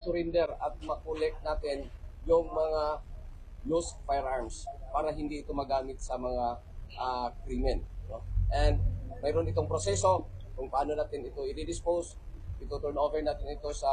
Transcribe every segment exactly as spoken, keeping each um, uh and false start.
surrender at ma-collect natin yung mga lost firearms para hindi ito magamit sa mga, ah, krimen, no? And mayroon itong proseso kung paano natin ito i-dispose. Ito turn over natin ito sa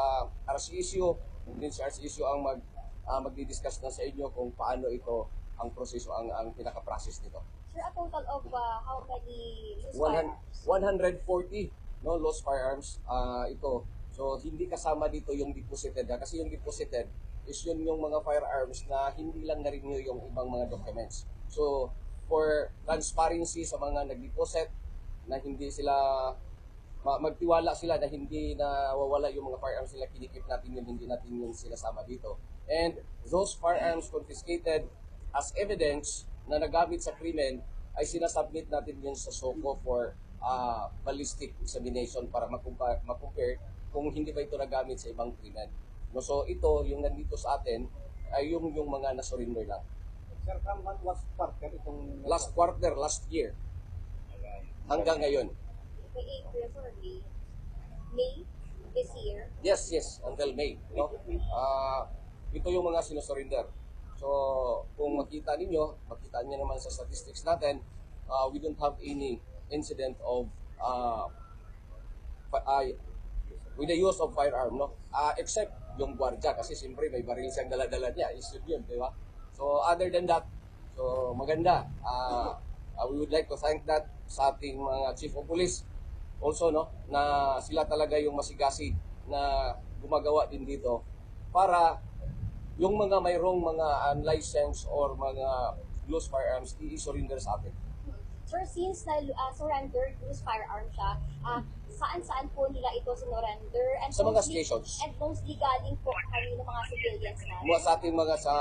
R C S U, and then si R C S U ang mag, ah, magdi-discuss na sa inyo kung paano ito ang proseso, ang, ang pinaka-process nito. Sir, a total of, uh, how many loose One hun- firearms? One hundred forty, no, lost firearms, ah, ito. So, hindi kasama dito yung deposited, ha? Kasi yung deposited is yun yung mga firearms na hindi lang na-renew yung ibang mga documents. So, for transparency sa mga nag-deposit, na hindi sila ma- magtiwala sila na hindi nawawala yung mga firearms nila, kinikip natin yun, hindi natin yun sinasama dito. And those firearms confiscated as evidence na nagamit sa krimen ay sinasubmit natin yun sa SOCO for, ah, ballistic examination para makumpa- makompare kung hindi ba ito nagamit sa ibang krimen. No, so ito, yung nandito sa atin, ay yung, yung mga na-surrender lang. Sir, from what was quarter itong Last quarter, last year. Hanggang ngayon. May April, sir, May. May this year. Yes, yes, until May, no? Ah, ito yung mga sinusurrender. So, kung makita ninyo, makita niyo naman sa statistics natin, ah, we don't have any incident of, ah, fi- ah, with the use of firearm, no? Ah, except yung gwardiya, kasi siyempre may baril siyang dala-dala niya, issue yun, di ba? So, other than that, so, maganda. Ah, ah, we would like to thank that sa ating mga chief of police also, no, na sila talaga yung masigasig na gumagawa din dito para yung mga mayroong mga unlicensed or mga loose firearms, i-surrender sa atin. Sir, since na, ah, surrender, loose firearm siya, ah, saan-saan po nila ito sinurrender? And Sa mga mostly, stations. And mostly galing po kanino, mga civilians na? Mga sa ating mga sa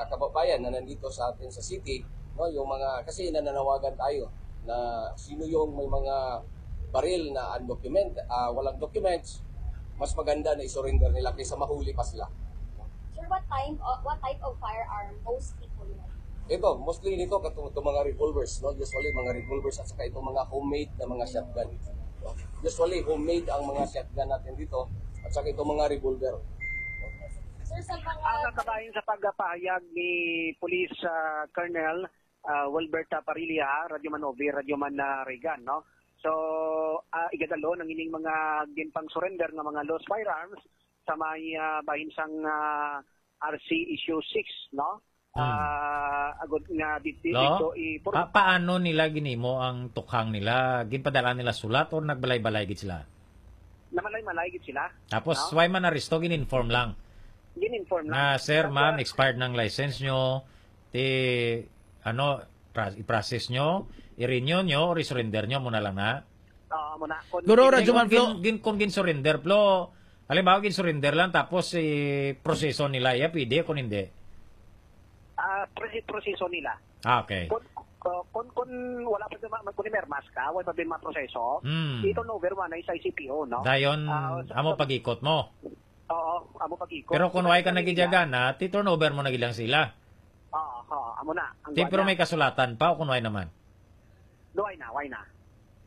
kababayan na nandito sa atin sa city, no, yung mga, kasi nananawagan tayo na sino yung may mga baril na undocumented, ah, walang documents, mas maganda na i-surrender nila kaysa mahuli pa sila. Sir, what time, uh, what type of firearm mostly po yun? Ito, mostly nito, katong, itong mga revolvers, no? Usually, mga revolvers at saka itong mga homemade na mga shotgun. No? Usually, homemade ang mga shotgun natin dito at saka itong mga revolver. Sir, sa mga Ang nakabahin sa pagpahayag ni Police, ah, Colonel, ah, Wilbert, ah, Parilla, Radyo Man Ovi, Radyo Man, ah, Regan, no? So, ah, igadalon ang ining mga ginpang-surrender nga mga lost firearms sa may, ah, bahin sang, ah, R C Issue six, no? Hmm. Ah, agud nga di-, di-, No? dito i-, pur- Pa- paano nila ginimo ang tukhang nila? Ginpadala nila sulat or nagbalay-balay gid sila? Namalay-malay gid sila. Tapos, No? why man aresto? Gin-inform lang. Gin-inform lang. Nga, "Sir, Tapos, ma'am, expired ng license nyo. Ti, ano, pra- i-process nyo, i-renew nyo, or i-surrender nyo, muna lang na." Oo, muna. Kung Guro, Hindi, Radyo kung Man Flo. gin- gin- kung gin-surrender, Flo, halimbawa, gin-surrender lang, tapos i-proseso nila, ya, pwede, kung hindi. Ah, prosi-, proseso nila. Ah, okay. Kung, uh, kung, kung wala pa din ma-, kung mermas ka, wala pa din maproseso, Hmm. i-turn over mo na sa I C P O, no? Dayon, Ah, sa, amo sa pag-ikot mo. Oo, amo pag-ikot. Pero kung Sa wala ka kanila. nagigagana, ti-turn over mo na gid lang sila. Oo, oo, amo na. Ang Ti, kuwan pero na. may kasulatan pa o kung wala naman? Why na, why na?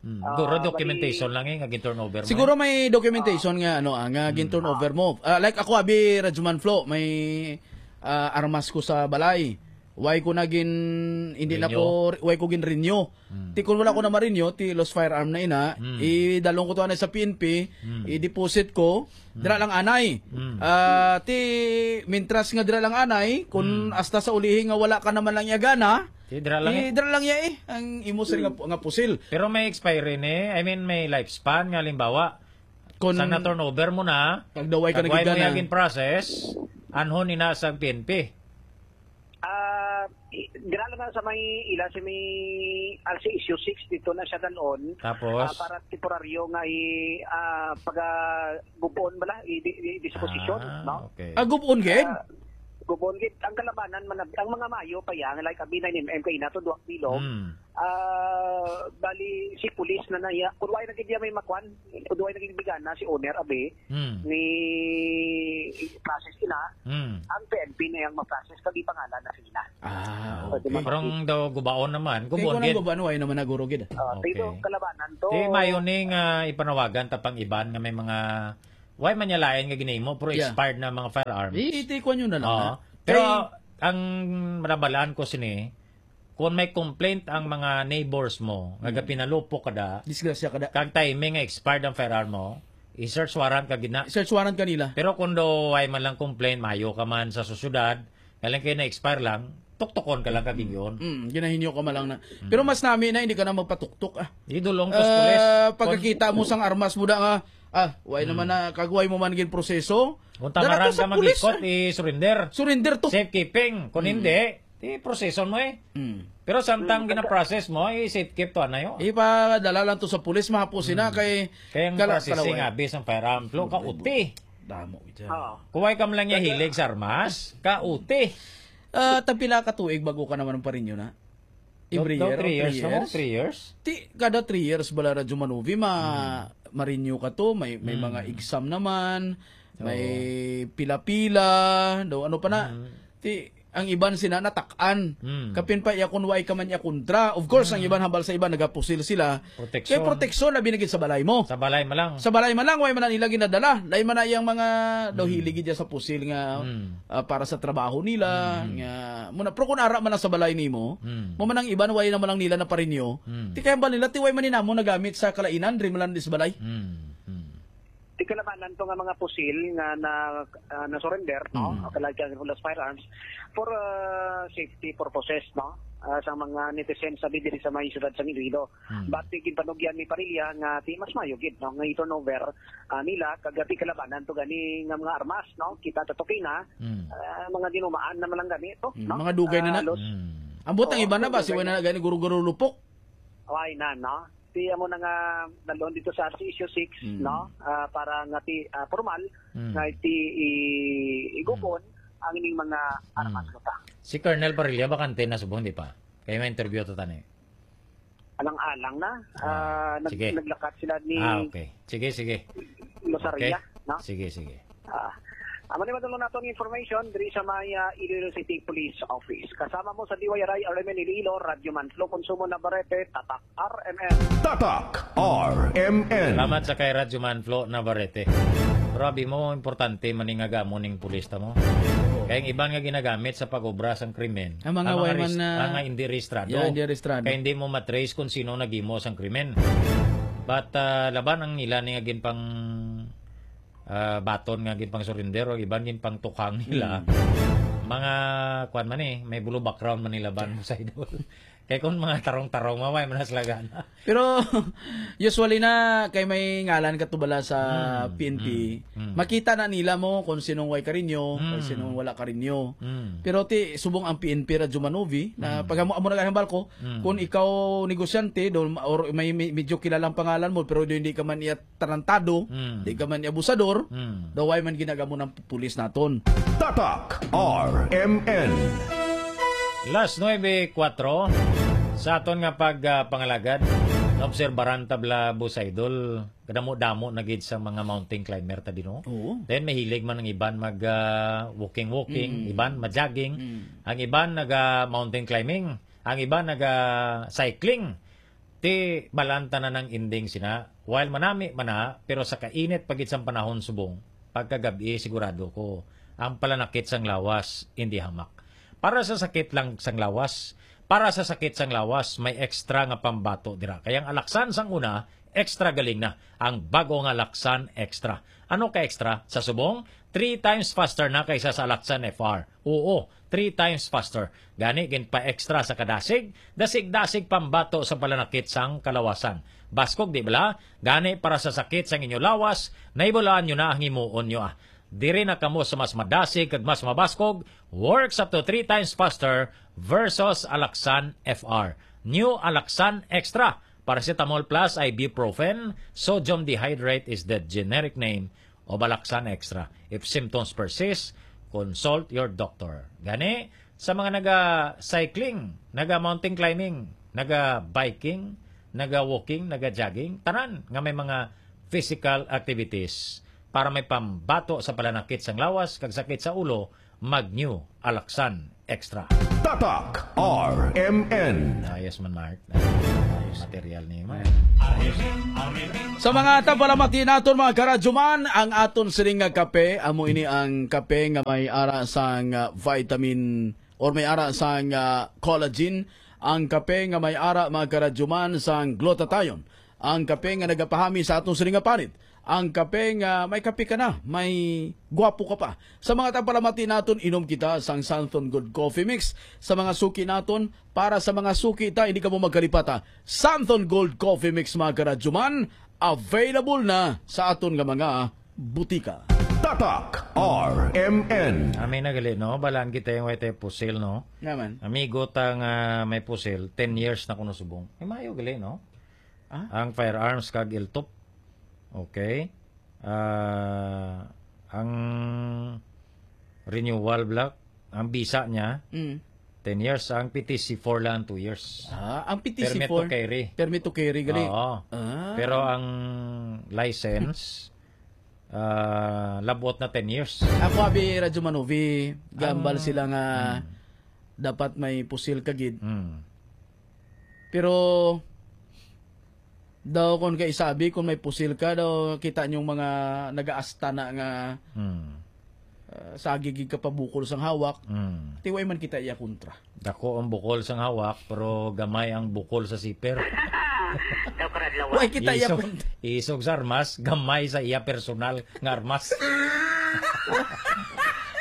Hmm. Ah, Guro, bali documentation lang eh, nga gin-turnover mo Siguro eh. may documentation nga, ano, ah, nga Hmm. gin-turnover mo. Ah, like ako, abi, Radyo Man Flo, may, ah, armas ko sa balay. Why ko na gin-, hindi na Renew? ko, why ko gin-renew? Hmm. Ti kung wala ko na ma-renew, ti lost firearm na ina, Hmm. idalong ko to anay sa P N P, Hmm. i-deposit ko, Hmm. dira lang anay. Hmm. Ah, ti, mintras nga dira lang anay, kung Hmm. hasta sa ulihi nga wala ka naman lang yagana, Ti, dira lang ti, eh. dira lang ya eh, ang imo sir nga, Hmm. nga pusil. Pero may expiry ni, I mean, may lifespan nga, halimbawa, Kung sang na-turnover mo na, kag daw ay ka kag wala mo nagigana. yagin process, anhon ni na sa P N P. Ah, i-, dira lang na sa may ila, sa may R C Issue six, dito na siya dalon. Tapos? Ah, para temporaryo nga i-, ah, paga-, gubon bala, i-, i-, i-disposition, Ah, no? okay. Ah, gubon gid? Ah, gubon gid. Ang kalabanan man, ang mga mayo pa yan, like, abi na ni M M kaina to, duwang bilog. Hmm. Ah, bali, si pulis na naya, kung wala na gid niya may makwan, kung wala na gid bigana si owner, abi, Hmm. ni process ina, Hmm. ang P N P na yang ma-process, kag ipangalan na sila. Ah, Pwede okay. makapit. Pero ang daw gubaon naman, Kay gubon kung ang gid. gubaon, wala naman naguro gid. Ah, Okay. pero kalabanan to. Di mayo ni nga ipanawagan ta pang iban nga may mga Why man niya lain nga ginahimo, pero Yeah. expired na mga firearms? I-, iti-, kuwan nyo na lang, Oo. ha? Pero Kay ang nabalaan ko sini, kung may complaint ang mga neighbors mo, nga Mm. gapinalupok ka da, Disgrasya ka da. kag timing nga expired ang firearm mo, i-search warrant ka gid na. Search warrant kanila. Pero kung do, why man lang complaint, mayo ka man sa sosyedad, galing kayo na-expire lang, tuktukon ka lang kag ingon. Mm, ginahinyo ka man lang na. Mm. Pero mas nami na, hindi ka na magpatuktok, ah. Di dulong to sa Ah, pulis. Pagkakita mo sang armas mo da nga, ah, why Mm. naman na, kag why mo man gin proseso? Kung Dala to tamaran sa ka pulis, magikot, ah. i-surrender. Surrender to. Safekeeping. Kung Mm. hindi, di proseso mo eh. Mm. Pero samtang Mm, gina-process mo, i-safekeep to, anayo. Ipadala lang to sa pulis, mahapos sina Mm. kay Kaya ang kala-, processing, kalaway. Abi, sang firearm, Flo, Mm, kauti. Damo ito. Oo. Kuway ka man lang niya Kaya hilig sa armas, kauti. Ah, tagpila ka tuig bago ka naman ang parinyo na? Every Daw, daw year, three three years, no? years? Three years? Ti, kada three years bala, Radyo Manuvi, ma-, Hmm. ma-renew ka to, may, may Hmm. mga exam naman, Oo. may pila-pila, daw ano pa na. Hmm. Ti, ang iban sina natak-an. Hmm. Kapin pa iya kun way ka man iya kontra. Of course, ang Hmm. iban hambal sa iban, nagapusil sila. Proteksyon. Kay proteksyon, labi na gid sa balay mo. Sa balay man lang. Sa balay man lang, way man na nila ginadala. Lain man na iyang mga daw Mm. hilig gid sa pusil nga, Mm. ah, para sa trabaho nila, Mm. nga, muna, pero kung ara man lang sa balay nimo, Mm. mo man ang iban, way na man lang nila naparinyo. Mm. Ti kaya ba nila, ti way man ni namo nagamit sa kalainan, diri man lang di sa balay? Mm. Mm. Ti kalabanan to nga mga pusil nga na, ah, na-surrender, no? Mm. O kalabanan for firearms for, ah, safety purposes, no? Ah, sa mga netizens sa diri sa may siyudad sa Iloilo. Mm. But ti ginpanugyan ni Parilla nga ti mas mayo gid, no, nga i-turnover, ah, nila kag ti kalabanan to gani nga mga armas, no? Kita ta to kina, Mm. ah, mga dinumaan na man lang gani to, Mm, no? mga dugay na Ah, na. Los-, Mm. Ambot ang Oo, iba na ba? Si dugay wala na. na gani guro-guro lupok. Why na, no? Ti amo na nga nalon dito sa R C S U six, Mm. no? Ah, para nga ti, ah, formal Mm. nga ti i-, igukon Mm. ang ining mga Mm. armas mo ta. Si Colonel Parilla, bakante na subong, di pa? Kaya may interview to tani. Alang-alang na. Ah, Ah, nag-, sige. naglakat sila ni Ah, okay. Sige, sige. Losaria, Okay. no? Sige, sige. Ah, amo ni madulong nato ang information diri sa may, ah, Iloilo City Police Office. Kasama mo sa D Y R I, R M N Iloilo, Radyo Manflo, Konsumo Navarrete, Tatak R M N. Tatak R M N. Salamat sa kay Radyo Manflo Navarrete. Grabe mo, importante man ni nga gamo ning pulis ta mo. Kay ang iban nga ginagamit sa pag-obra sang krimen, Ang mga ang mga way man res-, na ang mga hindi rehistrado. Yeah, hindi rehistrado. Kay hindi mo matrace kung sino naghimo sang krimen. But, ah, laban ang nila ni nga ginpang, ah, baton nga ginpang surrender o iban ginpang tukhang nila. Mm. Mga, kuwan man eh, may blue background man nila ban mo sa idol. Kay kung mga tarong-tarong, maway man na sila gana. Pero, usually na, kay may ngalan ka to bala sa Mm, P N P, mm, mm. makita na nila mo kung sinong way ka rinyo, kung Mm. sinong wala ka rinyo. Mm. Pero ti, subong ang P N P Radyo Manuvi, na Mm. pag amo, amo na lang hambal ko, Mm. kung ikaw negosyante, do, or may, may, medyo kilalang pangalan mo, pero do, hindi ka man iya tarantado, Mm. di ka man abusador, Mm. daw way man ginagamo ng pulis naton. Tatak R M N. Las nuebe kuwatro, sa aton nga pag, ah, pangalagad, naobserbaran ta bala, Boss Idol, kadamo-damo na gid sa mga mountain climber ta dino. Oo. Then mahilig man ang iban mag, ah, walking-walking, Mm. iban mag-jogging, Mm. ang iban naga mountain climbing, ang iban naga cycling. Ti, balaan ta na ang ending sina. While manami man na, pero sa kainit pa gid sang panahon subong, pagkagab-i sigurado ko, ang palanakit sang lawas, hindi hamak. Para sa sakit lang sang lawas, para sa sakit sang lawas, may extra nga pambato dira. Kay ang Alaxan sang una, extra galing na. Ang bago nga Alaxan Extra. Ano ka extra? Sa subong, three times faster na kaysa sa Alaxan F R. Oo, three times faster. Gani, ginpa-extra sa kadasig, dasig-dasig pambato sa palanakit sang kalawasan. Baskog, di bala? Gani, para sa sakit sang inyo lawas, nahibalaan nyo na ang himuon nyo, ah. Diri na kamo sa mas madasig kag mas mabaskog, works up to three times faster versus Alaxan F R. New Alaxan Extra, Paracetamol plus ibuprofen, sodium dihydrate is the generic name of Alaxan Extra. If symptoms persist, consult your doctor. Gani, sa mga naga-cycling, naga-mountain climbing, naga-biking, naga-walking, naga-jogging, tanan nga may mga physical activities para may pambato sa palanakit sang lawas kag sakit sa ulo, mag-New Alaxan Extra. Tatak R M N. Ah, yes man, Mark. Material ni man. Sa mga tapalamati naton, mga karadyoman, ang aton sining nga kape, amo ini ang kape nga may ara sang, ah, vitamin or may ara sang, ah, collagen, ang kape nga may ara, mga karadyoman, sang glutathione, ang kape nga nagapahami sa aton sining nga panit, ang kape nga may kape ka na, may gwapo ka pa. Sa mga tapalamati naton, inom kita sang Santhon Gold Coffee Mix. Sa mga suki naton, para sa mga suki ta, hindi ka mo magkalipata. Santhon Gold Coffee Mix, mga karadyoman, available na sa aton nga mga butika. Tatak R M N. Kami na gali, no? Balaan kita yung way tayo pusil, no? Naman. Amigo ta nga may pusil, ten years na kuno subong. Ay, mayo gali, no? Ah? Ang firearms kag iltop. Okay. Ah, ang renewal block, ang bisa niya, Mm. ten years. Ang P T C four lang, two years. Ah, ang Permit P T C four, to carry. Permit to carry, gali. Oo. Ah. Pero ang license, ah, labot na ten years. Ako, abi, Radyo Manovi, gambal Ang sila nga Mm. dapat may pusil ka gid. Mm. Pero, daw, kung kay sabi, kung may pusil ka, daw, kita niyong mga nagaasta na nga, Mm. ah, sagig gid ka pa bukol sang hawak. Mm. Tiway man kita iya kontra. Dako ang bukol sang hawak, pero gamay ang bukol sa siper. Daw karadlawan. Way kita iya Isog, kontra. Isog sa armas, gamay sa iya personal nga armas.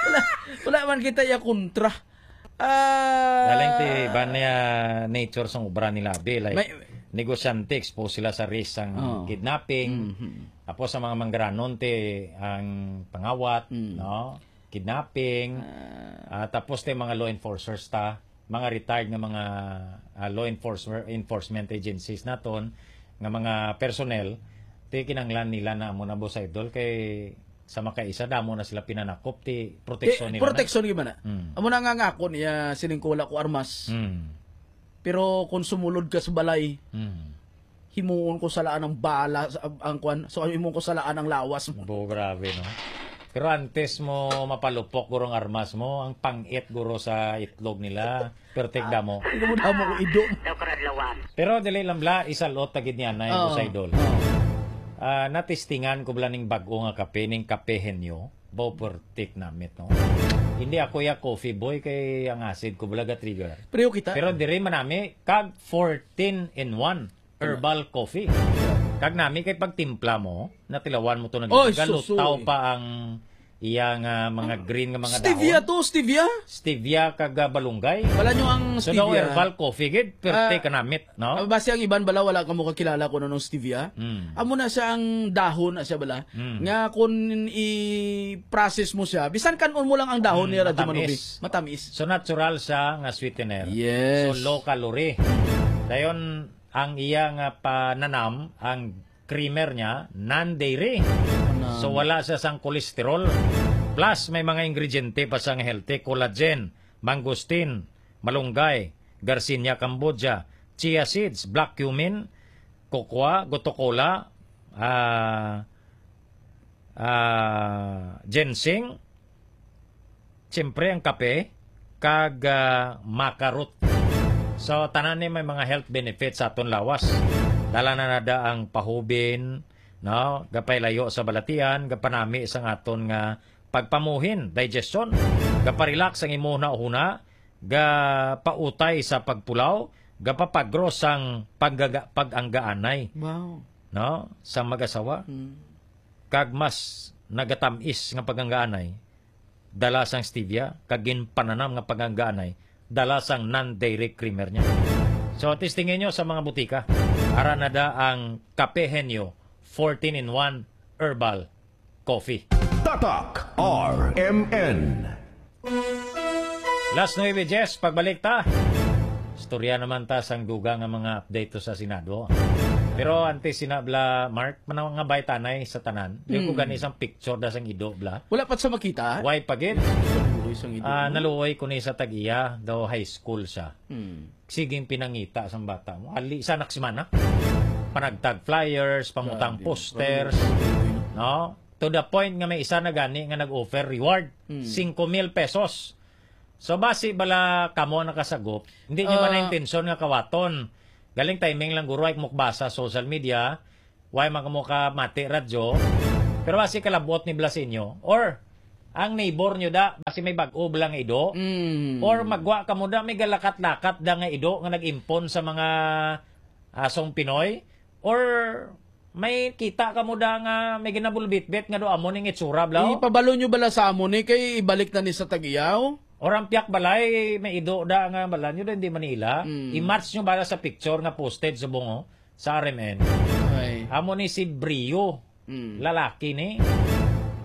Wala, wala man kita iya kontra. Ah, Galing ti iban niya nature sang obra nila, abi. Like, may negosyante, expose sila sa risk sang Oh. kidnapping. Mhm. Tapos sa mga manggaranon, ti ang pangawat, Mm. no? Kidnapping. Ah. Ah, tapos ti mga law enforcers ta, mga retired nga mga, ah, law enforcer, enforcement agencies naton, nga mga personnel, ti kinanglan nila na amo na, Boss Idol, kay sa makaisa, damo na sila pinanakop, ti proteksyon Ti, nila na. proteksyon gyud man na. Mm. Amo na nga, nga ako niya, sining ko wala ko armas. Mm. Pero kung sumulod ka sa balay, Mm. himuon ko salaan ang bala, sa, ang, ang kwan, so himuon ko salaan ang lawas mo. Bo, grabe, no? Pero antes mo mapalupok, guro, ang armas mo, ang pangit, guro, sa itlog nila. Pertik damo. Hindi mo damo ko ido. Daw karadlawan. Pero dili lang bala, isalot ta gid niya na, Oo. Boss Idol. Oo. Ah, natistingan ko bala ning bag-o nga kape, ning Kape Henyo. Bo, pertik namit, no? Hindi ako ya coffee boy, kay ang acid ko bala ga-trigger. Pareho kita. Pero diri man nami, kag fourteen in one herbal coffee. Kag nami kay pagtimpla mo, natilawan mo to na Oy, gid. Galutaw susoy. pa ang iya nga mga green nga mga Stevia dahon. to, stevia? Stevia kag, ah, balunggay. Bala nyo ang So, daw stevia. herbal coffee gid, pero Ah, kanamit, no? ah, basi ang iban bala, wala ka mo kakilala kung anong stevia. Mm. Amo na siya ang dahon na siya bala. Mm. Nga kung i-process mo siya, bisan kanon mo lang ang dahon Mm, niya, Radyo matamis. Manubi, matamis. So, natural siya nga sweetener. Yes. So, low calorie. Dayon, ang iya nga pananam, ang creamer niya, non-dairy. Ano? So, wala siya sang cholesterol. Plus, may mga ingrediente pa sang healthy, collagen, mangosteen, malunggay, Garcinia cambogia, chia seeds, black cumin, cocoa, gotu kola, ah, ah, ginseng, siyempre ang kape, kag, ah, maca root. So, tanan ni may mga health benefits sa aton lawas. Dala na nada ang pahubin, no? Gapailayo sa balatian, gapanami sang aton nga pagpamuhin, digestion, gaparelax ang imo hunahuna, gapautay sa pagpulaw, gapapagros sang paggaga-, pag-anggaanay, Wow. no? Sa mag-asawa. Hmm. Kag mas nagatamis nga pag-anggaanay, dala sang stevia, kag ginpananam nga pag-anggaanay, dala sang non-dairy creamer niya. So, testingin nyo sa mga butika. Ara na da ang Kape Henyo, fourteen in one herbal coffee. Tatak R M N. Las nuebe dies, pagbalik ta. Istorya naman ta sang dugang nga mga update to sa Senado. Pero antes sina bla, Mark, manaw nga baytanay sa tanan. Di ko Hmm. gani sang picture da sang ido bla. Wala pa sa makita? Why pa gid? Naluoy sang ido, Ah, no? naluoy ko ni sa tag-iya, daw high school siya. Hmm. Siging pinangita sang bata mo. Ali sa anak si mana. Panagtag flyers, pamutang Grabe. posters, Grabe, no? To the point nga may isa na gani nga nag-offer reward, Hmm. singko mil pesos. So, basi bala kamo nakasagop, hindi nyo man Ah. na intensyon nga kawaton. Galing timing lang, guro, ay mukbasa sa social media. Why man kamo ka mati radyo? Pero basi kalabot ni Blasinyo. Or, ang neighbor nyo da, basi may bag-o bala nga ido. Mm. Or magwa kamo da, may galakat-lakat da nga ido nga nag-impon sa mga asong Pinoy. Or may kita kamo da nga may ginabulbitbit nga do amo ning itsura, blaw? Ipabalo nyo bala sa amo ni kay ibalik na ni sa tag-iyaw? Or ang piyak balay, may ido da nga bala nyo da, hindi Manila. Mm. I-match nyo bala sa picture nga posted subong, oh, sa R M N. Ay. Amo ni si Brio. Mm. Lalaki ni.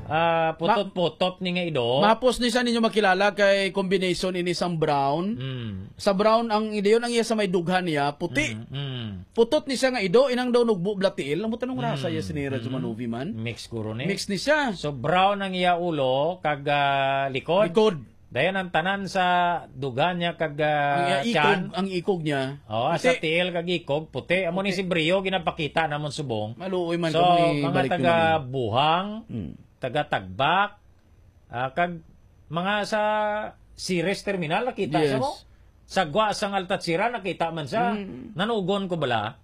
Ah, putot-putot ni nga ido. Mapos ni sa ninyo makilala kay combination ini sang brown. Mm. Sa brown ang idayon ang iya sa may dughan niya, puti. Mm, mm. Putot ni siya nga ido, inang daw nugbo bala tiil. Amo tanong rasa iya sini, Radyo Manuvi man. Mix guro ni. Mix ni siya. So brown ang iya ulo kag, ah, likod. Likod. Dayon ang tanan sa dugan niya kag, ah, Ang iya ikog, tiyan. Ang ikog niya. Oh, sa Puti. Tiil kag ikog, puti. Amo ni Puti. Si Brio, ginapakita namon subong. Maluoy man So, kamo ni mga balik taga naman. Buhang, Mm. taga Tagbak, ah, kag mga sa Ceres Terminal, nakita sa Yes. mo? Sa gwa sang Altatsira, nakita man sa Mm. nanugon ko bala.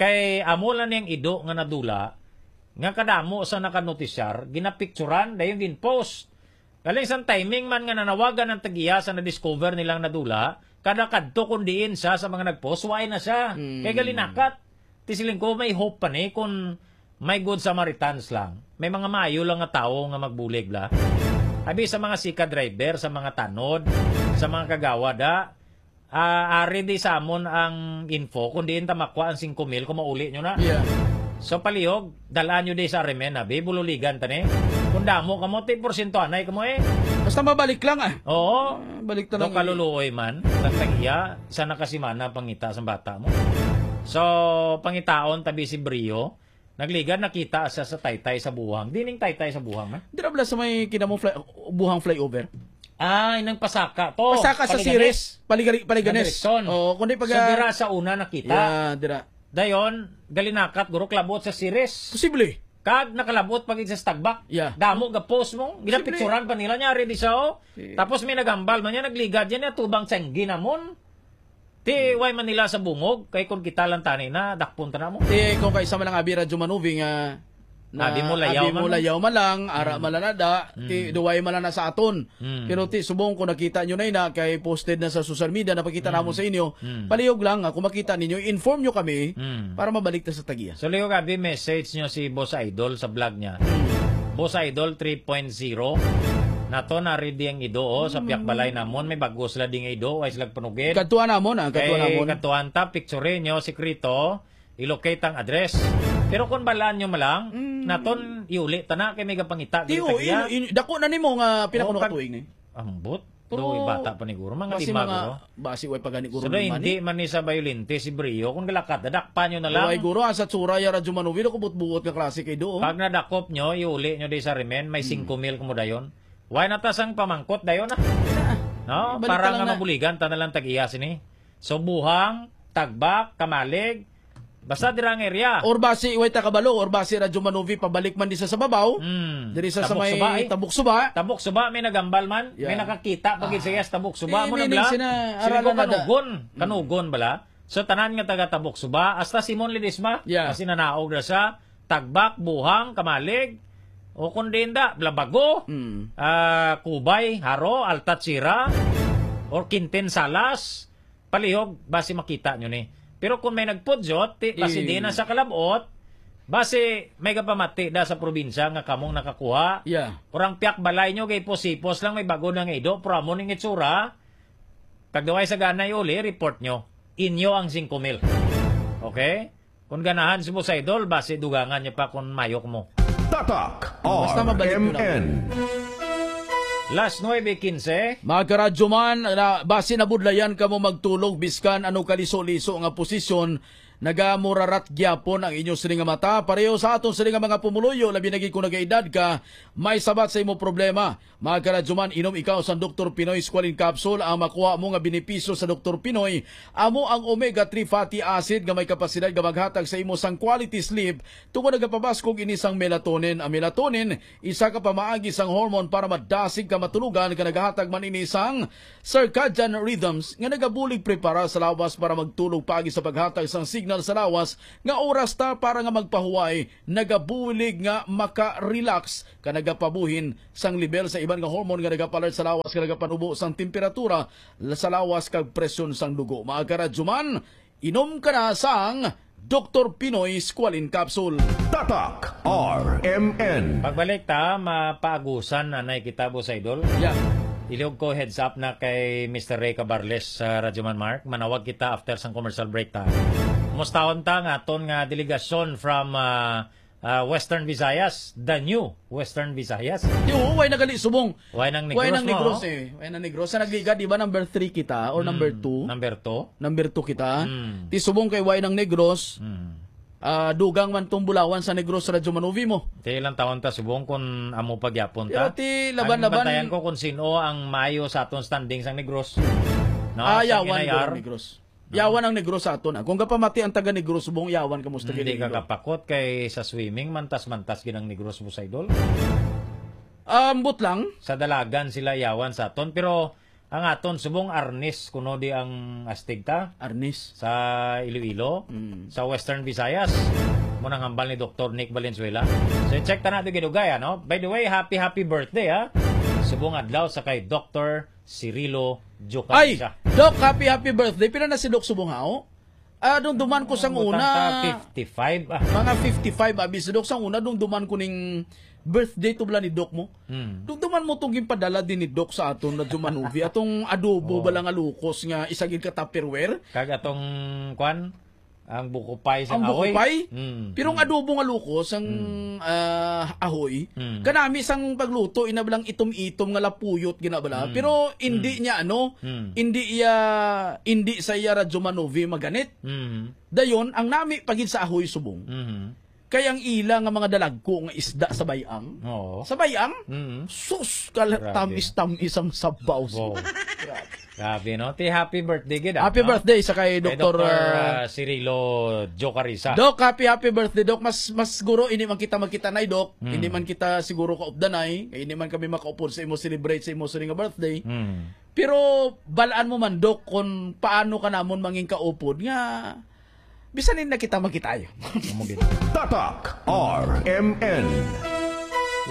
Kay amo lang niyang ido nga nadula, nga kadamo sa nakanotisyar, ginapicturan, dayon gin-post. Galing sang timing man nga nanawagan ang tag-iya sa na-discover nilang nadula, kada kadto kun diin sa, sa mga nag-post, waay na siya. Mm. Kay galinakat. Ti siling ko, may hope pa ni kun may good Samaritans lang. May mga maayo lang nga tawo nga magbulig bala. Abi sa mga sika driver, sa mga tanod, sa mga kagawad, ah, Ah, ari di sa amon ang info, kung diin ta makuha ang singko mil, kung mauli nyo na. Yeah. So, palihog, dalaan nyo di sa Arimen, abi, bululigan ta ni. Kung damo kamo, ti porsyento anay kamo eh. Basta mabalik lang, ah. Oo. Ah, balik ta Do lang. Kaluluoy man, nagtagiya, sa nakasimana pangita sa bata mo. So, pangitaon tabi si Brio, nagligad, nakita sa, sa taytay sa buhang. Dining taytay sa buhang, man? Dira bala sa may kinamo fly, buhang flyover. Ah, inang pasaka to. Pasaka sa Paliganes. Ceres, Paligali-, Paliganes. Nandrikson. Oo, kundi pag, So, ah, dira sa una nakita. Yeah, dira. Dayon, galinakat, guro, kalabot sa Ceres. Posible. Kag nakalabot pa gid sa Tagbak. Yeah. Damo ga post mo. Posible. Ginapicturan pa nila niya, ready siya, oh. Si Tapos may nagambal man niya, nagligad yan niya, tubang tsanggi namon. Ti, way man nila sa bungog, kay kung kita lang tani na, dakpon ta na mo. Ti, kung kaisa man ang abi Radyo Manuvi nga, na Abi mo, layaw abi man mo, mo. Layaw man lang, ara Mm. man lang na da, ti, Mm. duway man lang na sa aton. Mm. Pero ti, subong kung nakita nyo na yun na, kay posted na sa social media, napakita Mm. namo sa inyo, Mm. palihog lang, ah, kung makita ninyo, i-inform nyo kami Mm. para mabalik ta sa tagiya. So, lihog abi, message nyo si Boss Idol sa vlog niya. Mm. Boss Idol three point zero. Nato na ready ang ido, oh, sa Mm. piyak balay namon, may bago sila di nga ido, way sila panugid. Kadtuan namon, ah, kadtuan Kay namon. Kadtuan ta, picture nyo, sikreto, i-locate ang address. Pero kung balaan nyo malang, Mm. naton iuli ta na kay may gapangita, Ti, gili oh, tagiya. In-, in-, dako na nimo nga pila Oh, kuno ka kag-, tuig ni? Ambot. Pero Doy, bata pa ni guro, mga basi lima mga, guro. Basi way pa gani guro So, naman, hindi eh. Man ni sa bayolente si Brio. Kung galakat, dadakpan nyo na lang. Way guro, asa tsura ya Radyo Manuvi, ako buot-buot nga klase kay do, oh. Pag nadakop nyo, iuli nyo di sa remen, may Hmm. singko mil kamo dayon. Why na ta sang pamangkot dayon, ah? No? Balik Para ta lang nga na. Mabuligan, ta na lang tag-iya sini. So, buhang, tagbak, kamalig, basta dira ang area. Or basi, way ta kabalo, or basi Radyo Manuvi, pabalik man di sa, sa babaw. Hmm. Diri sa, sa Tabok may Suba, eh. Tabok Suba. Tabok Suba, may nagambal man. May Yeah. Nakakita pa gid sa Ah. iyas Tabok Suba. Eh, Amo na meaning bala? Sina Sila ko aralan na da. Kanugon. Mm. Kanugon bala? So, tanan nga taga Tabok Suba, hasta Simon Ledesma. Yeah. Kasi nanaog na sa Tagbak, Buhang, Kamalig, o kung di inda, Blabago, Mm. ah, Kubay, Haro, Altatsira, or Quintin Salas, palihog, basi makita nyo ni. Pero kung may nagpudyot, ti, basi Eh. di na sa kalabot, basi may kapamati da sa probinsya nga kamong nakakuha. Yeah. Or ang piyak balay nyo, kay posipos lang, may bago na nga ido, pero amo ning itsura, kag daway sa ganay uli, report nyo. Inyo ang singko mil. Okay? Kung ganahan si Boss Idol, basi dugangan niya pa kung mayok mo. Tatak Basta mabalik yun lang. R M N. Las nuebe quince. Mga karadyo man, na, basi nabudlayan kamo magtulog, biskan ano kaliso-liso nga posisyon, Nagamurarat gyapon ang inyo sini nga mata. Pareho sa aton sini nga mga pumuluyo, labi na gid kung nagaedad ka, may sabat sa imo problema. Mga karadyoman, inom ikaw sang Doktor Pinoy Squalene Capsule. Ang makuha mo nga benepisyo sa Doktor Pinoy, amo ang omega three fatty acid nga may kapasidad nga maghatag sa imo sang quality sleep, tungod nagapabaskog ini sang melatonin. Ang melatonin, isa ka pamaagi sang hormone para madasig ka matulogan, ka nagahatag man ini sang circadian rhythms nga nagabulig preparar sa lawas para magtulog paagi sa paghatag sang signal sa lawas nga oras ta para nga magpahuway, nagabulig nga maka-relax, ka nagapabuhin sang level sa iban nga hormone nga nagapalert sa lawas nga nagapanubo sang temperatura sa lawas kag presyon sang dugo. Mga karadyoman, inom ka na sang Doktor Pinoy Squalene Capsule. Tatak R M N. Pagbalik ta, mapaagusan na nay kita, Boss Idol. Yeah. Ilihog ko heads up na kay Mister Ray Cabarles sa Radyo Man Mark. Manawag kita after sang commercial break ta. Mustahon ta nga aton nga delegasyon from ah, ah, Western Visayas, the new Western Visayas. Di, oo, way nagali subong. Way nang Negros Way nang mo, Negros oh. eh. Way nang Negros. Sa nagliga, di ba, number three kita or number Hmm, two? Number two. Number two kita. Hmm. Ti subong kay way nang Negros. Hmm. Ah, dugang man tong bulawan sa Negros sa Radyo Manuvi mo. Ti ilang taon ta subong kung amo pagyapon Pero ta? Ti laban-laban. Ang bantayan ko kung sino ang maayo sa aton standing sang Negros. No? Ah, Sa yawan N I R. Dugang Negros. Yawan ang Negros sa aton, ah. Kung gapamati ang taga Negros, subong yawan kamo sa taga Hindi ka Iloilo. Kapakot kay sa swimming, mantas-mantas gid ang Negros, Boss Idol. Ambot lang. Sa dalagan sila yawan sa aton, pero ang aton subong arnis kuno di ang astig ta Arnis. Sa Iloilo, Mm. Sa Western Visayas. Mo nang hambal ni Doktor Nick Valenzuela. So, check ta na ito ginugay, ano? By the way, happy, happy birthday, ha? Subong adlaw sa kay Doktor Cirilo Ay, Jocarisa. Doc, happy, happy birthday. Pila na si Doc Subong Hao? Ah, dumduman ko sang Ang una. Butang ka, fifty-five, ah. Mga fifty-five, abi si Doc. Sang una, dumduman ko ning birthday to bala ni Doc mo. Hmm. Dumduman mo tong ginpadala din ni Doc sa aton na Jumanuvi. Atong adobo Oh. bala nga lukos nga isa gid ka Tupperware. Kag atong, kwan? Ang buko pie sa Ang buko ahoy? pie? Mm, Pero ang mm. adobo nga lukos, ang, Mm. ah, ahoy, Mm. kanami sang pagluto, ina balang itom-itom nga lapuyot, gina bala. Mm. Pero hindi Mm. niya, ano, Mm. hindi iya, hindi sa iya Radyo Manovi maganit. Mm. Dayon, ang nami pa gid sa ahoy subong. Mm. Kay ang ila nga mga dalagko nga isda sa bayang. Oo. Sa bayang? Mm. Sus, kal-, Grabe. tamis-tamis ang sabaw. Wow. Grabe. Grabe, no? Ti happy birthday gid, ah, Happy no? birthday sa kay Kay Doktor, Doktor, ah, ah, Cirilo Jocarisa. Doc, happy, happy birthday, Doc. Mas, mas siguro, hindi man kita magkita na, Doc. Hmm. Hindi man kita siguro kaupdanay. Kay hindi man kami makaupod sa imo celebrate sa imo sini nga birthday. Hmm. Pero, balaan mo man, Doc, kung paano ka namon mangin kaupod nga bisan hindi na kita magkita. Amo gid. Tatak R M N.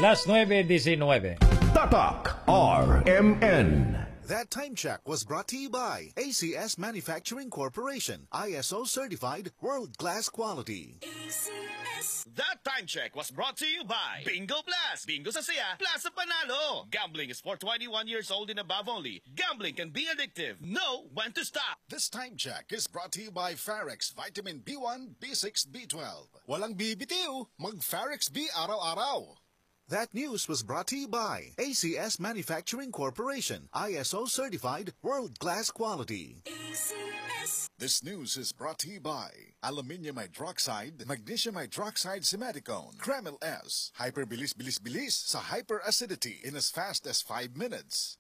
Las nuebe diecinuebe. Tatak R M N. That time check was brought to you by A C S Manufacturing Corporation, I S O certified, world-class quality. A C S. That time check was brought to you by Bingo Blast. Bingo sa saya, plus sa panalo. Gambling is for twenty-one years old and above only. Gambling can be addictive. Know when to stop. This time check is brought to you by Farex Vitamin B one, B six, B twelve. Walang bibitiw, mag Farex B araw-araw. That news was brought to you by A C S Manufacturing Corporation, I S O certified, world-class quality. A C S. This news is brought to you by aluminium hydroxide, magnesium hydroxide, simeticone, Kremil S, hyperbilis-bilis-bilis sa hyperacidity in as fast as five minutes.